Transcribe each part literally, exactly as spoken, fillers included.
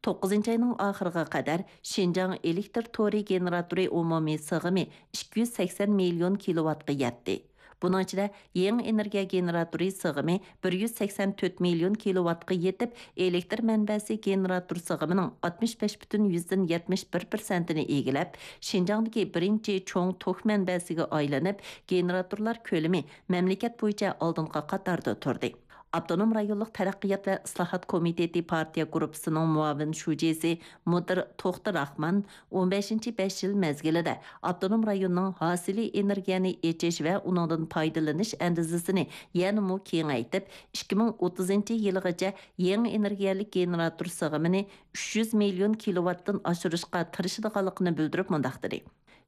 توققۇزىنچى ئاينىڭ ئاخىرىغا قەدەر شىنجاڭ ئېلېكتر تورى گېنېراتورى ئومۇمىي سىغىمى ئىككى يۈز سەكسەن مىليون كىلوۋاتقا يەتتى. بۇنىڭ ئىچىدە يېڭى ئېنېرگىيە گېنېراتورى سىغىمى بىر يۈز سەكسەن تۆت مىليون كىلوۋاتقا يېتىپ، ئېلېكتر مەنبەسى گېنېراتور سىغىمىنىڭ ئاتمىش بەش پۈتۈن يۈزدىن يەتمىش بىر پىرسەنتىنى ئىگىلەپ، شىنجاڭدىكى بىرىنچى چوڭ توك مەنبەسىگە ئايلىنىپ، گېنېراتورلار كۆلىمى مەملىكەت بويىچە ئالدىنقى قاتاردا تۇردى. ئاپتونوم رايونلۇق تەرەققىيات ۋە ئىسلاھات كومىتېتى پارتىيە گۇرۇپپىسىنىڭ مۇئاۋىن شۇجىسى مۇدىر توختى راخمان ئون بەشىنچى بەش يىل مەزگىلىدە ئاپتونوم رايوننىڭ ھاسىلىي ئېنېرگىيەنى ئېچىش ۋە ئۇنىڭدىن پايدىلىنىش ئەندىزىسىنى يەنىمۇ كېڭەيتىپ، ئىككى مىڭ ئوتتۇزىنچى يىلىغىچە يېڭى ئېنېرگىيەلىك گېنېراتور سىغىمىنى ئۈچ يۈز مىليون كىلوۋاتتىن ئاشۇرۇشقا تىرىشىدىغانلىقىنى بىلدۈرۈپ مۇنداق دېدى: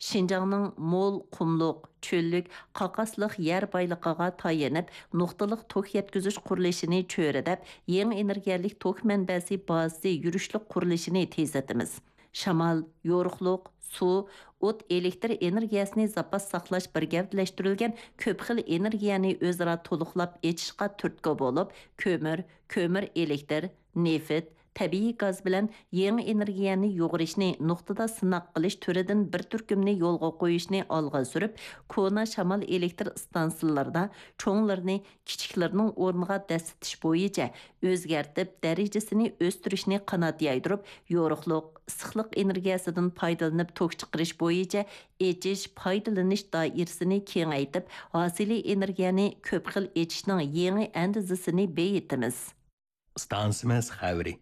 شىنجاڭنىڭ مول قۇملۇق، چۆللۈك، قاقاسلىق يەر بايلىقىغا تايىنىپ، نۇقتىلىق توك يەتكۈزۈش قۇرۇلۇشىنى چۆرىدەپ، يېڭى ئېنېرگىيەلىك توك مەنبەسى بازىسى يۈرۈشلۈك قۇرۇلۇشىنى تېزلىتىمىز. شامال، يورۇقلۇق، سۇ، ئوت، ئېلېكتر ئېنېرگىيەسىنى زاپاس ساقلاش بىر گەۋدىلەشتۈرۈلگەن كۆپ خىل ئېنېرگىيەنى ئۆزئارا تولۇقلاپ ئېچىشقا تۈرتكە بولۇپ، كۆمۈر، كۆمۈر ئېلېكتر، نېفىت، تەبىئىي گاز بىلەن يېڭى ئېنېرگىيەنى يۇغۇرۇشنى نۇقتىدا سىناق قىلىش تۈرىدىن بىر تۈركۈمنى يولغا قويۇشنى ئالغا سۈرۈپ، كونا شامال ئېلېكتر ئىستانسىلىرىدا چوڭلىرىنى كىچىكلىرىنىڭ ئورنىغا دەسسىتىش بويىچە ئۆزگەرتىپ، دەرىجىسىنى ئۆستۈرۈشنى قانات يايدۇرۇپ، يورۇقلۇق، ئىسسىقلىق ئېنېرگىيەسىدىن پايدىلىنىپ توك چىقىرىش بويىچە ئېچىش، پايدىلىنىش دائىرىسىنى كېڭەيتىپ، ھاسىلىي ئېنېرگىيەنى كۆپ خىل ئېچىشنىڭ يېڭى ئەندىزىسىنى بېيىتىمىز. ئىستانسىمىز خەۋىرى.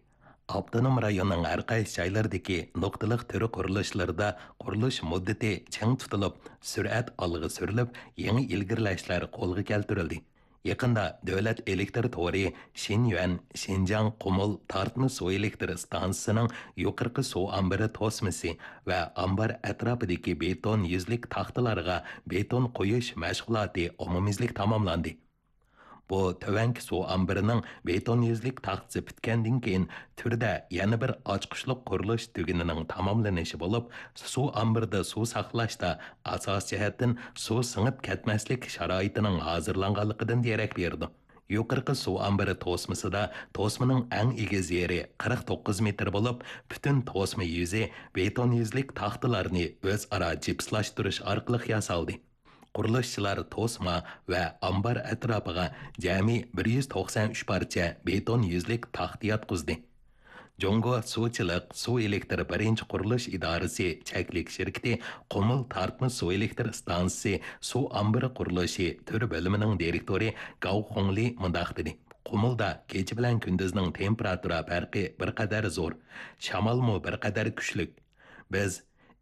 ئاپتونوم رايوننىڭ ھەر قايسى جايلىرىدىكى نۇقتىلىق تۈر قۇرۇلۇشلىرىدا قۇرۇلۇش مۇددىتى چىڭ تۇتۇلۇپ، سۈرئەت ئالغا سۈرۈلۈپ، يېڭى ئىلگىرىلەشلەر قولغا كەلتۈرۈلدى. يېقىندا دۆلەت ئېلېكتر تورى شىنيۈەن شىنجاڭ قۇمۇل تارتما سۇ ئېلېكتر ئىستانسىسىنىڭ يۇقىرىقى سۇ ئامبىرى توسمىسى ۋە ئامبار ئەتراپىدىكى بېتون يۈزلۈك تاختىلارغا بېتون قويۇش مەشغۇلاتى ئومۇميۈزلۈك تاماملاندى. بۇ تۆۋەنكى سۇ ئامبىرىنىڭ بېتون يۈزلۈك تاختىسى پۈتكەندىن كېيىن، تۈردە يەنە بىر ئاچقۇچلۇق قۇرۇلۇش تۈگۈنىنىڭ تاماملىنىشى بولۇپ، سۇ ئامبىرىدا سۇ ساقلاشتا ئاساسىي جەھەتتىن سۇ سىڭىپ كەتمەسلىك شارائىتىنىڭ ھازىرلانغانلىقىدىن دېرەك بېرىدۇ. يۇقىرىقى سۇ ئامبىرى توسمىسىدا توسمىنىڭ ئەڭ ئېگىز يېرى قىرىق توققۇز مېتىر بولۇپ، پۈتۈن توسما يۈزى بېتون يۈزلۈك تاختىلارنى ئۆزئارا جىپسلاشتۇرۇش ئارقىلىق ياسالدى. قۇرۇلۇشچىلار توسما ۋە ئامبار ئەتراپىغا جەمئىي بىر يۈز توقسان ئۈچ پارچە بېتون يۈزلۈك تاختا ياتقۇزدى. جۇڭگو سۇچىلىق سۇ ئېلېكتر بىرىنچى قۇرۇلۇش ئىدارىسى چەكلىك شىركىتى قۇمۇل تارتما سۇ ئېلېكتر ئىستانسىسى سۇ ئامبىرى قۇرۇلۇشى تۈر بۆلۈمىنىڭ دىرېكتورى گاۋ خۇڭلى مۇنداق دېدى: قۇمۇلدا كېچە بىلەن كۈندۈزنىڭ تېمپېراتۇرا پەرقى بىر قەدەر زور، شامالمۇ بىر قەدەر كۈچلۈك. بىز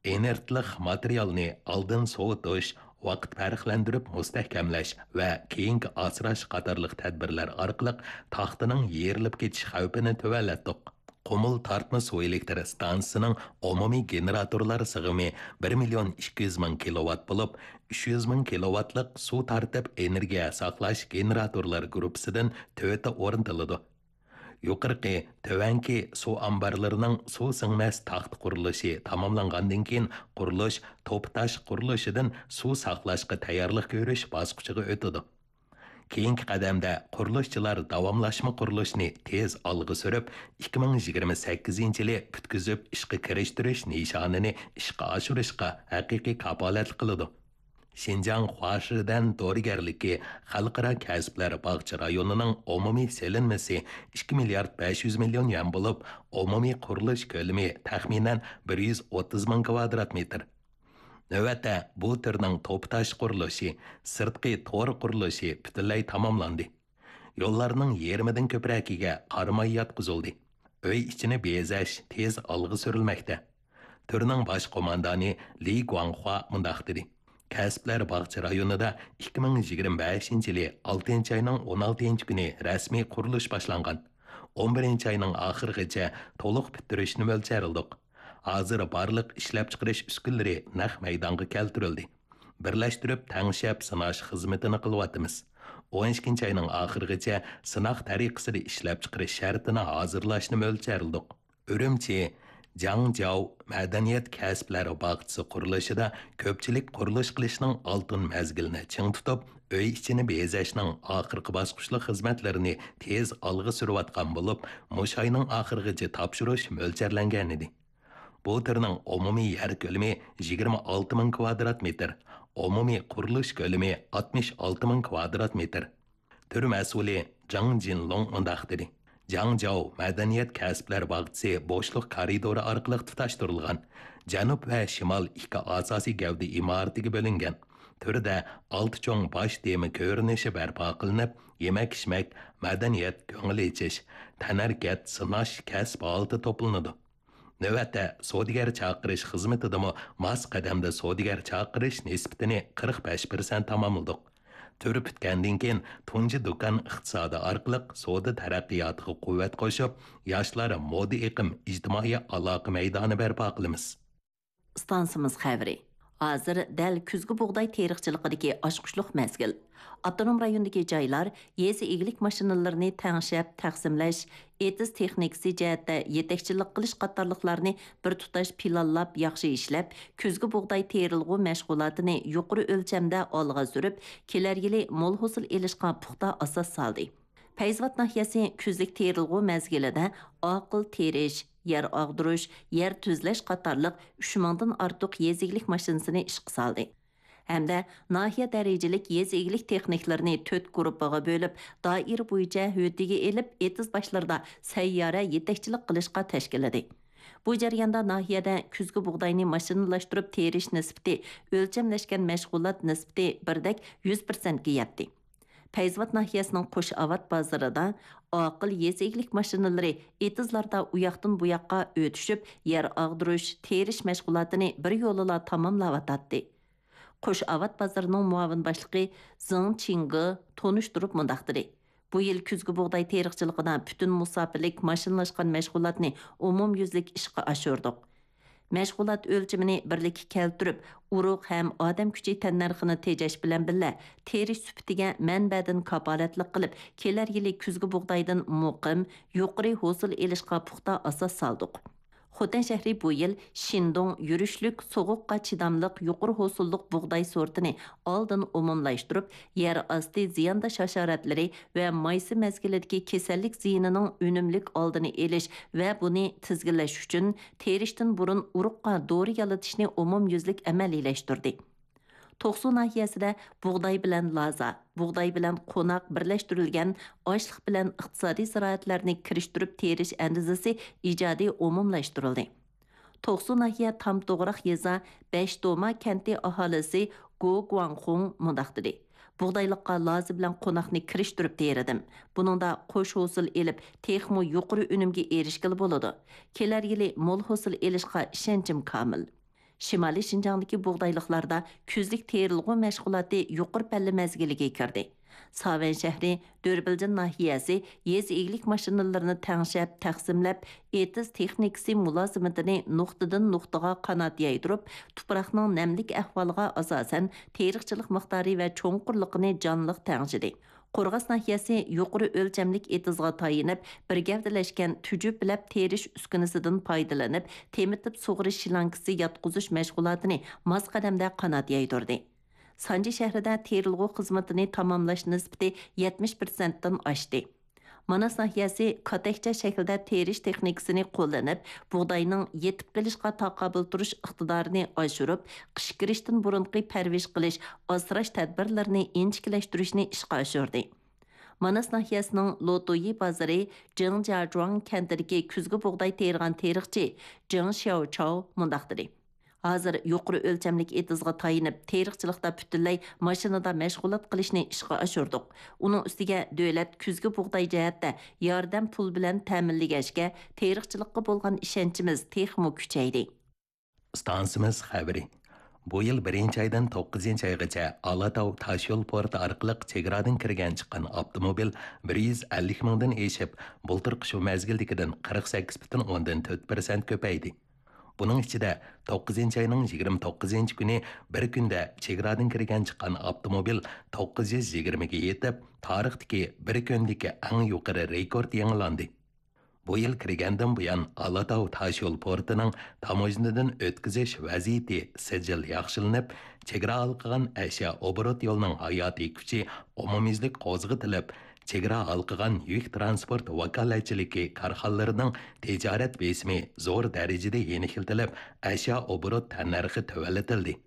ئىنېرتلىق ماتېرىيالنى ئالدىن سوۋۇتۇش، ۋاقىت پەرقلەندۈرۈپ مۇستەھكەملەش ۋە كېيىنكى ئاسراش قاتارلىق تەدبىرلەر ئارقىلىق تاختىنىڭ يېرىلىپ كېتىش خەۋپىنى تۆۋەنلەتتۇق. قۇمۇل تارتما سۇ ئېلېكتر ئىستانسىسىنىڭ ئومۇمىي گېنېراتورلار سىغىمى بىر مىليون ئىككى يۈز مىڭ كىلوۋات بولۇپ، ئۈچ يۈز مىڭ كىلوۋاتلىق سۇ تارتىپ ئېنېرگىيە ساقلاش گېنېراتورلار گۇرۇپپىسىدىن تۆتى ئورنىتىلىدۇ. يۇقىرىقى، تۆۋەنكى سۇ ئامبارلىرىنىڭ سۇ سىڭمەس تاختا قۇرۇلۇشى تاماملانغاندىن كېيىن، قۇرۇلۇش توپا تاش قۇرۇلۇشىدىن سۇ ساقلاشقا تەييارلىق كۆرۈش باسقۇچىغا ئۆتىدۇ. كېيىنكى قەدەمدە قۇرۇلۇشچىلار داۋاملاشما قۇرۇلۇشنى تېز ئالغا سۈرۈپ، ئىككى مىڭ يىگىرمە سەككىزىنچى يىلى پۈتكۈزۈپ ئىشقا كىرىشتۈرۈش نىشانىنى ئىشقا ئاشۇرۇشقا ھەقىقىي كاپالەتلىك قىلىدۇ. شىنجاڭ خۇاشىدەن دورىگەرلىكى خەلقئارا كەسىپلەر باغچە رايونىنىڭ ئومۇمىي سېلىنمىسى ئىككى مىليارد بەش يۈز مىليون يۈەن بولۇپ، ئومۇمىي قۇرۇلۇش كۆلىمى تەخمىنەن بىر يۈز ئوتتۇز مىڭ كىۋادرات مېتىر. نۆۋەتتە بۇ تۈرنىڭ توپا تاش قۇرۇلۇشى، سىرتقى تور قۇرۇلۇشى پۈتۈنلەي تاماملاندى. يوللارنىڭ يېرىمىدىن كۆپرەكىگە قارا ماي ياتقۇزۇلدى. ئۆي ئىچىنى بېزەش تېز ئالغا سۈرۈلمەكتە. تۈرنىڭ باش قوماندانى لى گۇاڭخۇا مۇنداق دېدى: كەسىپلەر باغچە رايونىدا ئىككى مىڭ يىگىرمە بەشىنچى يىلى ئالتىنچى ئاينىڭ ئون ئالتىنچى كۈنى رەسمىي قۇرۇلۇش باشلانغان. ئون بىرىنچى ئاينىڭ ئاخىرىغىچە تولۇق پۈتتۈرۈشنى مۆلچەرلىدۇق. ھازىر بارلىق ئىشلەپچىقىرىش ئۈسكۈنىلىرى نەق مەيدانغا كەلتۈرۈلدى. بىرلەشتۈرۈپ تەڭشەپ سىناش خىزمىتىنى قىلىۋاتىمىز. ئون ئىككىنچى ئاينىڭ ئاخىرىغىچە سىناق تەرىقىسىدە ئىشلەپچىقىرىش شەرتىنى ھازىرلاشنى مۆلچەرلىدۇق. ئۈرۈمچى، جاڭجياۋ مەدەنىيەت كەسىپلەر باغچىسى قۇرۇلۇشىدا كۆپچىلىك قۇرۇلۇش قىلىشنىڭ ئالتۇن مەزگىلىنى چىڭ تۇتۇپ، ئۆي ئىچىنى بېزەشنىڭ ئاخىرقى باسقۇچلۇق خىزمەتلىرىنى تېز ئالغا سۈرۈۋاتقان بولۇپ، مۇشۇ ئاينىڭ ئاخىرىغىچە تاپشۇرۇش مۆلچەرلەنگەنىدى. بۇ تۈرنىڭ ئومۇمىي يەر كۆلىمى يىگىرمە ئالتە مىڭ كۋادرات مېتىر، ئومۇمىي قۇرۇلۇش كۆلىمى ئاتمىش ئالتە مىڭ كۋادرات مېتىر. تۈر مەسئۇلى جاڭ جىنلۇڭ مۇنداق دېدى: جاڭجياۋ مەدەنىيەت كەسىپلەر باغچىسى بوشلۇق كارىدورى ئارقىلىق تۇتاشتۇرۇلغان، جەنۇب ۋە شىمال ئىككى ئاساسىي گەۋدە ئىمارىتىگە بۆلۈنگەن. تۈردە ئالتە چوڭ باش تېما كۆرۈنۈشى بەرپا قىلىنىپ، يېمەك-ئىچمەك، مەدەنىيەت، كۆڭۈل ئېچىش، تەنھەرىكەت، سىناش كەسىپ ھالىتى توپلىنىدۇ. نۆۋەتتە، سودىگەر چاقىرىش خىزمىتىدىمۇ ماس قەدەمدە سودىگەر چاقىرىش نىسبىتىنى قىرىق بەش پىرسەنت تاماملىدۇق. تۈر پۈتكەندىن كېيىن، تۇنجى دۇكان ئىقتىسادى ئارقىلىق سودا تەرەققىياتىغا قۇۋۋەت قوشۇپ، ياشلار مودا ئېقىم، ئىجتىمائىي ئالاقە مەيدانى بەرپا قىلىمىز. ئىستانسىمىز خەۋىرى. ھازىر دەل كۈزگى بۇغداي تېرىقچىلىقىدىكى ئاچقۇچلۇق مەزگىل. ئاپتونوم رايوندىكى جايلار يېزا ئىگىلىك ماشىنىلىرىنى تەڭشەپ تەقسىملەش، ئېتىز تېخنىكىسى جەھەتتە يېتەكچىلىك قىلىش قاتارلىقلارنى بىر تۇتاش پىلانلاپ ياخشى ئىشلەپ، كۈزگى بۇغداي تېرىلغۇ مەشغۇلاتىنى يۇقىرى ئۆلچەمدە ئالغا سۈرۈپ، كېلەر يىلى مول ھوسۇل ئېلىشقا پۇختا ئاساس سالدى. پەيزىۋات ناھىيەسى كۈزلۈك تېرىلغۇ مەزگىلىدە ئاقىل تېرىش، يەر ئاغدۇرۇش، يەر تۈزلەش قاتارلىق ئۈچ مىڭدىن ئارتۇق يېزا ئىگىلىك ماشىنىسىنى ئىشقا سالدى. ھەمدە ناھىيە دەرىجىلىك يېزا ئىگىلىك تېخنىكلىرىنى تۆت گۇرۇپپىغا بۆلۈپ، دائىرە بويىچە ھۆددىگە ئېلىپ، ئېتىز باشلىرىدا سەييارە يېتەكچىلىك قىلىشقا تەشكىللىدى. بۇ جەرياندا ناھىيەدە كۈزگى بۇغداينى ماشىنىلاشتۇرۇپ تېرىش نىسبىتى ئۆلچەملەشكەن مەشغۇلات نىسبىتى بىردەك يۈز پىرسەنتكە يەتتى. پەيزىۋات ناھىيەسىنىڭ قوش ئاۋات بازىرىدا ئاقىل يېزا ئىگىلىك ماشىنىلىرى ئېتىزلاردا ئۇياقتىن بۇياققا ئۆتۈشۈپ، يەر ئاغدۇرۇش، تېرىش مەشغۇلاتىنى بىر يولىلا تاماملاۋاتاتتى. قوش ئاۋات بازىرىنىڭ مۇئاۋىن باشلىقى زېڭ چىڭگې تونۇشتۇرۇپ مۇنداق دېدى: بۇ يىل كۈزگى بۇغداي تېرىقچىلىقىدا پۈتۈن مۇساپىلىك ماشىنىلاشقان مەشغۇلاتنى ئومۇميۈزلۈك ئىشقا ئاشۇردۇق. مەشغۇلات ئۆلچىمىنى بىرلىككە كەلتۈرۈپ، ئۇرۇق ھەم ئادەم كۈچى تەننەرخىنى تېجەش بىلەن بىللە، تېرىش سۈپىتىگە مەنبەدىن كاپالەتلىك قىلىپ، كېلەر يىلى كۈزگى بۇغدايدىن مۇقىم، يۇقىرى ھوسۇل ئېلىشقا پۇختا ئاساس سالدۇق. خوتەن شەھىرى بۇ يىل شىندۇڭ يۈرۈشلۈك سوغۇققا چىداملىق يۇقىرى ھوسۇللۇق بۇغداي سورتىنى ئالدىن ئومۇملاشتۇرۇپ، يەر ئاستى زىيانداش ھاشاراتلىرى ۋە مايسا مەزگىلىدىكى كېسەللىك زىيىنىنىڭ ئۈنۈملۈك ئالدىنى ئېلىش ۋە بۇنى تىزگىنلەش ئۈچۈن، تېرىشتىن بۇرۇن ئۇرۇققا دورا يالىتىشنى ئومۇميۈزلۈك ئەمەلىيلەشتۈردى. توقسۇ ناھىيەسىدە بۇغداي بىلەن لازا، بۇغداي بىلەن قوناق بىرلەشتۈرۈلگەن ئاشلىق بىلەن ئىقتىسادىي زىرائەتلەرنى كىرىشتۈرۈپ تېرىش ئەندىزىسى ئىجادىي ئومۇملاشتۇرۇلدى. توقسۇ ناھىيە تام توغراق يېزا بەشتوما كەنتى ئاھالىسى گو گۇاڭخۇڭ مۇنداق دېدى: بۇغدايلىققا لازا بىلەن قوناقنى كىرىشتۈرۈپ تېرىدىم. بۇنىڭدا قوش ھوسۇل ئېلىپ، تېخىمۇ يۇقىرى ئۈنۈمگە ئېرىشكىلى بولىدۇ. كېلەر يىلى مول ھوسۇل ئېلىشقا ئىشەنچىم كامىل. شىمالىي شىنجاڭدىكى بۇغدايلىقلاردا كۈزلۈك تېرىلغۇ مەشغۇلاتى يۇقىرى پەللە مەزگىلىگە كىردى. ساۋەن شەھىرى، دۆربىلجىن ناھىيەسى يېزا ئىگىلىك ماشىنىلىرىنى تەڭشەپ، تەقسىملەپ، ئېتىز تېخنىكىسى مۇلازىمىتىنى نۇقتىدىن نۇقتىغا قانات يايدۇرۇپ، تۇپراقنىڭ نەملىك ئەھۋالىغا ئاساسەن، تېرىقچىلىق مىقدارى ۋە چوڭقۇرلۇقىنى جانلىق تەڭشىدى. قورغاس ناھىيەسى يۇقىرى ئۆلچەملىك ئېتىزغا تايىنىپ، بىر گەۋدىلەشكەن تۈجۈپلەپ تېرىش ئۈسكۈنىسىدىن پايدىلىنىپ، تېمىتىپ سۇغىرىش شلانكىسى ياتقۇزۇش مەشغۇلاتىنى ماس قەدەمدە قانات يايدۇردى. سانجى شەھىرىدە تېرىلغۇ خىزمىتىنى تاماملاش نىسبىتى يەتمىش پىرسەنتتىن ئاشتى. ماناس ناھىيەسى كاتەكچە شەكىلدە تېرىش تېخنىكىسىنى قوللىنىپ، بۇغداينىڭ يېتىپ قېلىشقا تاقابىل تۇرۇش ئىقتىدارىنى ئاشۇرۇپ، قىش كىرىشتىن بۇرۇنقى پەرۋىش قىلىش، ئاسراش تەدبىرلىرىنى ئىنچىكىلەشتۈرۈشنى ئىشقا ئاشۇردى. ماناس ناھىيەسىنىڭ لوتويى بازىرى جېڭجياجۇاڭ كەنتىدىكى كۈزگى بۇغداي تېرىغان تېرىقچى جېڭ شياۋچاۋ مۇنداق دېدى: ھازىر يۇقىرى ئۆلچەملىك ئېتىزغا تايىنىپ، تېرىقچىلىقتا پۈتۈنلەي ماشىنىدا مەشغۇلات قىلىشنى ئىشقا ئاشۇردۇق. ئۇنىڭ ئۈستىگە دۆلەت كۈزگى بۇغداي جەھەتتە ياردەم پۇل بىلەن تەمىنلىگەچكە، تېرىقچىلىققا بولغان ئىشەنچىمىز تېخىمۇ كۈچەيدى. ئىستانسىمىز خەۋىرى. بۇ يىل بىرىنچى ئايدىن توققۇزىنچى ئايغىچە ئالاتاۋ تاشيول پورتى ئارقىلىق چېگرادىن كىرگەن چىققان ئاپتوموبىل بىر يۈز ئەللىك مىڭدىن ئېشىپ، بۇلتۇرقى شۇ مەزگىلدىكىدىن قىرىق سەككىز پۈتۈن ئوندىن تۆت پىرسەنت كۆپەيدى. بۇنىڭ ئىچىدە، توققۇزىنچى ئاينىڭ يىگىرمە توققۇزىنچى كۈنى بىر كۈندە چېگرادىن كىرگەن چىققان ئاپتوموبىل توققۇز يۈز يىگىرمىگە يېتىپ، تارىختىكى بىر كۈندىكى ئەڭ يۇقىرى رېكورت يېڭىلاندى. بۇ يىل كىرگەندىن بۇيان، ئالاتاۋ تاشيول پورتىنىڭ تاموژنىدىن ئۆتكۈزۈش ۋەزىيىتى سىجىل ياخشىلىنىپ، چېگرا ھالقىغان ئەشيا ئوبوروت يولىنىڭ ھاياتىي كۈچى ئومۇميۈزلۈك قوزغىتىلىپ، چېگرا ھالقىغان يۈك تىرانسپورت ۋاكالەتچىلىكى كارخانىلىرىنىڭ تىجارەت بېسىمى زور دەرىجىدە يېنىكلىتىلىپ، ئەشيا ئوبوروت تەننەرخى تۆۋەنلىتىلدى.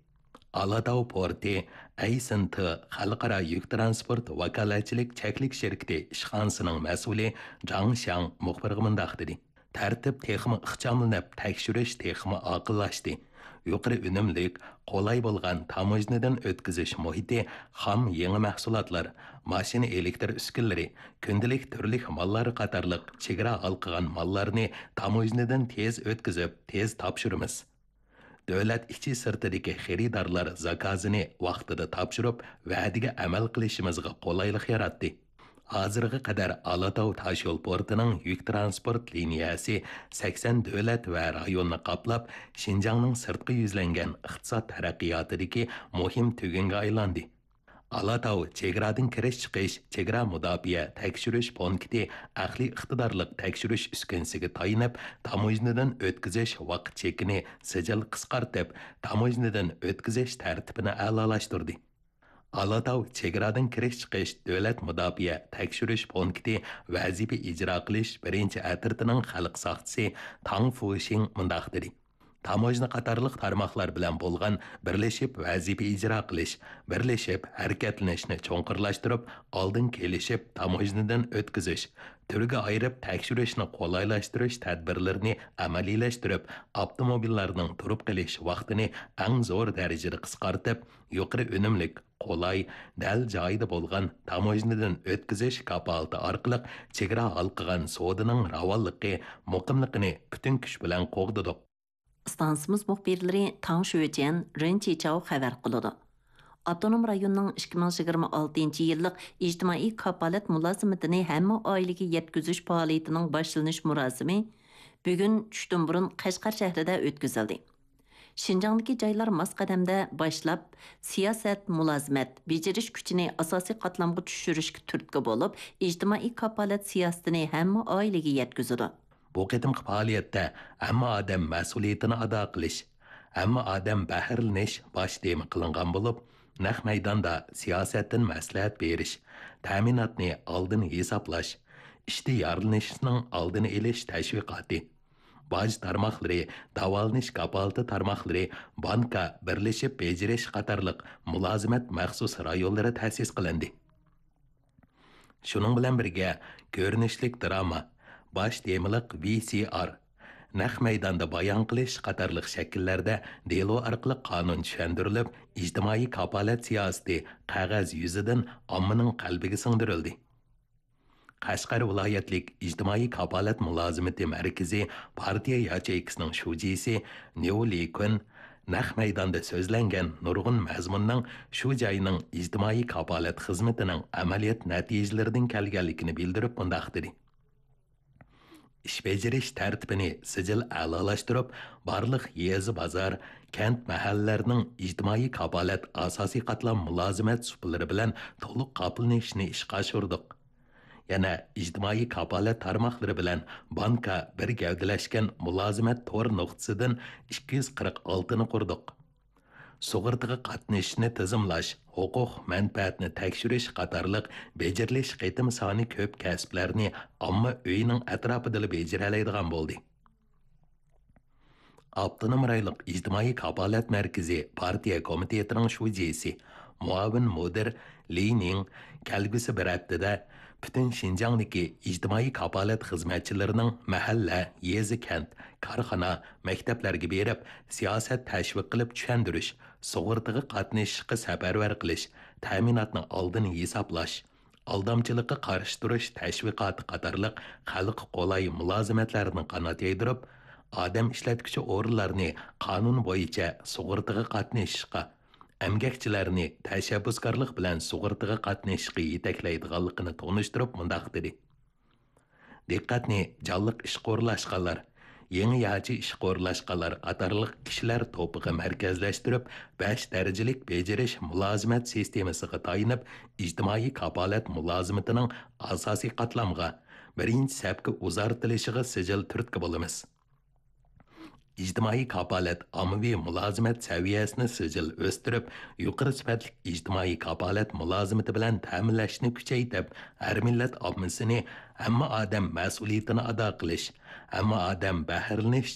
ئالاتاۋ پورتى ئەي سىن تې خەلقئارا يۈك تىرانسپورت ۋاكالەتچىلىك چەكلىك شىركىتى ئىشخانىسىنىڭ مەسئۇلى جاڭ شياڭ مۇخبىرغا مۇنداق دېدى: تەرتىپ تېخىمۇ ئىخچاملىنىپ، تەكشۈرۈش تېخىمۇ ئاقىللاشتى. يۇقىرى ئۈنۈملۈك، قولاي بولغان تاموژنىدىن ئۆتكۈزۈش مۇھىتى خام يېڭى مەھسۇلاتلار، ماشىنا ئېلېكتر ئۈسكۈنىلىرى، كۈندىلىك تۈرلۈك ماللار قاتارلىق چېگرا ھالقىغان ماللارنى تاموژنىدىن تېز ئۆتكۈزۈپ، تېز تاپشۇرىمىز. دۆلەت ئىچى سىرتىدىكى خېرىدارلار زاكازىنى ۋاقتىدا تاپشۇرۇپ، ۋەدىگە ئەمەل قىلىشىمىزغا قولايلىق ياراتتى. ھازىرغا قەدەر ئالاتاۋ تاشيول پورتىنىڭ يۈك تىرانسپورت لىنىيەسى سەكسەن دۆلەت ۋە رايوننى قاپلاپ، شىنجاڭنىڭ سىرتقا يۈزلەنگەن ئىقتىساد تەرەققىياتىدىكى مۇھىم تۈگۈنگە ئايلاندى. ئالاتاۋ چېگرادىن كىرىش-چىقىش چېگرا مۇداپىئە تەكشۈرۈش پونكىتى ئەقلىي ئىقتىدارلىق تەكشۈرۈش ئۈسكۈنىسىگە تايىنىپ، تاموژنىدىن ئۆتكۈزۈش ۋاقىت چېكىنى سىجىل قىسقارتىپ، تاموژنىدىن ئۆتكۈزۈش تەرتىپىنى ئەلالاشتۇردى. ئالاتاۋ چېگرادىن كىرىش-چىقىش دۆلەت مۇداپىئە تەكشۈرۈش پونكىتى ۋەزىپە ئىجرا قىلىش بىرىنچى ئەترىتىنىڭ خەلق ساقچىسى تاڭ فۇشىڭ مۇنداق دېدى: تاموژنا قاتارلىق تارماقلار بىلەن بولغان بىرلىشىپ ۋەزىپە ئىجرا قىلىش، بىرلىشىپ ھەرىكەتلىنىشنى چوڭقۇرلاشتۇرۇپ، ئالدىن كېلىشىپ تاموژنىدىن ئۆتكۈزۈش، تۈرگە ئايرىپ تەكشۈرۈشنى قولايلاشتۇرۇش تەدبىرلىرىنى ئەمەلىيلەشتۈرۈپ، ئاپتوموبىللارنىڭ تۇرۇپ قېلىش ۋاقتىنى ئەڭ زور دەرىجىدە قىسقارتىپ، يۇقىرى ئۈنۈملۈك، قولاي، دەل جايىدا بولغان تاموژنىدىن ئۆتكۈزۈش كاپالىتى ئارقىلىق چېگرا ھالقىغان سودىنىڭ راۋانلىقى، مۇقىملىقىنى پۈتۈن كۈچ بىلەن قوغدىدۇق. ئىستانسىمىز مۇخبىرلىرى تاڭ شۆجيەن، رېن چىچاۋ خەۋەر قىلىدۇ. ئاپتونوم رايوننىڭ ئىككى مىڭ يىگىرمە ئالتىنچى يىللىق ئىجتىمائىي كاپالەت مۇلازىمىتىنى ھەممە ئائىلىگە يەتكۈزۈش پائالىيىتىنىڭ باشلىنىش مۇراسىمى بۈگۈن چۈشتىن بۇرۇن قەشقەر شەھىرىدە ئۆتكۈزۈلدى. شىنجاڭدىكى جايلار ماس قەدەمدە باشلاپ، سىياسەت، مۇلازىمەت، بېجىرىش كۈچىنى ئاساسىي قاتلامغا چۈشۈرۈشكە تۈرتكە بولۇپ، ئىجتىمائىي كاپالەت سىياسىتىنى ھەممە ئائىلىگە يەتكۈزىدۇ. بۇ قېتىمقى پائالىيەتتە ھەممە ئادەم مەسئۇلىيىتىنى ئادا قىلىش، ھەممە ئادەم بەھرىلىنىش باش تېما قىلىنغان بولۇپ، نەق مەيداندا سىياسەتتىن مەسلىھەت بېرىش، تەمىناتنى ئالدىن ھېسابلاش، ئىشتىيارلىنىشنىڭ ئالدىنى ئېلىش تەشۋىقاتى، باج تارماقلىرى، داۋالىنىش كاپالىتى تارماقلىرى، بانكا، بىرلىشىپ بېجىرىش قاتارلىق مۇلازىمەت مەخسۇس رايونلىرى تەسىس قىلىندى. شۇنىڭ بىلەن بىرگە، كۆرۈنۈشلۈك دىراما، باش تېمىلىق ۋى سى ئار، نەق مەيداندا بايان قىلىش قاتارلىق شەكىللەردە دېلو ئارقىلىق قانۇن چۈشەندۈرۈلۈپ، ئىجتىمائىي كاپالەت سىياسىتى قەغەز يۈزىدىن ئاممىنىڭ قەلبىگە سىڭدۈرۈلدى. قەشقەر ۋىلايەتلىك ئىجتىمائىي كاپالەت مۇلازىمىتى مەركىزى پارتىيە ياچېيكىسىنىڭ شۇجىسى نيۇ لىكۈن نەق مەيداندا سۆزلەنگەن نۇرغۇن مەزمۇننىڭ شۇ جاينىڭ ئىجتىمائىي كاپالەت خىزمىتىنىڭ ئەمەلىيەت نەتىجىلىرىدىن كەلگەنلىكىنى بىلدۈرۈپ مۇنداق دېدى: ئىش بېجىرىش تەرتىپىنى سىجىل ئەلالاشتۇرۇپ، بارلىق يېزا، بازار، كەنت، مەھەللىلەرنىڭ ئىجتىمائىي كاپالەت ئاساسىي قاتلام مۇلازىمەت سۇپىلىرى بىلەن تولۇق قاپلىنىشىنى ئىشقا ئاشۇردۇق. يەنە ئىجتىمائىي كاپالەت تارماقلىرى بىلەن بانكا بىر گەۋدىلەشكەن مۇلازىمەت تور نۇقتىسىدىن ئىككى يۈز قىرىق ئالتىنى قۇردۇق. سۇغۇرتىغا قاتنىشىشنى تىزىملاش، ھوقۇق مەنپەئەتنى تەكشۈرۈش قاتارلىق بېجىرىلىش قېتىم سانى كۆپ كەسىپلەرنى ئامما ئۆيىنىڭ ئەتراپىدىلا بېجىرەلەيدىغان بولدى. ئاپتونوم رايونلۇق ئىجتىمائىي كاپالەت مەركىزى پارتىيە كومىتېتىنىڭ شۇجىسى، مۇئاۋىن مۇدىر لى نىڭ كەلگۈسى بىر ھەپتىدە پۈتۈن شىنجاڭدىكى ئىجتىمائىي كاپالەت خىزمەتچىلىرىنىڭ مەھەللە، يېزا، كەنت، كارخانا، مەكتەپلەرگە بېرىپ، سىياسەت تەشۋىق قىلىپ چۈشەندۈرۈش، سۇغۇرتىغا قاتنىشىشقا سەپەرۋەر قىلىش، تەمىناتنى ئالدىن ھېسابلاش، ئالدامچىلىققا قارشى تۇرۇش تەشۋىقاتى قاتارلىق خەلققە قولاي مۇلازىمەتلەرنى قانات يايدۇرۇپ، ئادەم ئىشلەتكۈچى ئورۇنلارنى قانۇن بويىچە سۇغۇرتىغا قاتنىشىشقا، ئەمگەكچىلەرنى تەشەببۇسكارلىق بىلەن سۇغۇرتىغا قاتنىشىشقا يېتەكلەيدىغانلىقىنى تونۇشتۇرۇپ مۇنداق دېدى: دىققەتنى جانلىق ئىشقا ئورۇنلاشقانلار، يېڭى ياچى ئىشقا ئورۇنلاشقانلار قاتارلىق كىشىلەر توپىغا مەركەزلەشتۈرۈپ، بەش دەرىجىلىك بېجىرىش مۇلازىمەت سىستېمىسىغا تايىنىپ، ئىجتىمائىي كاپالەت مۇلازىمىتىنىڭ ئاساسىي قاتلامغا، بىرىنچى سەپكە ئۇزارتىلىشىغا سىجىل تۈرتكە بولىمىز. ئىجتىمائىي كاپالەت ئاممىۋى مۇلازىمەت سەۋىيەسىنى سىجىل ئۆستۈرۈپ، يۇقىرى سۈپەتلىك ئىجتىمائىي كاپالەت مۇلازىمىتى بىلەن تەمىنلەشنى كۈچەيتىپ، ھەر مىللەت ئاممىسىنى ھەممە ئادەم مەسئۇلىيىتىنى ئادا قىلىش، ھەممە ئادەم بەھرىلىنىش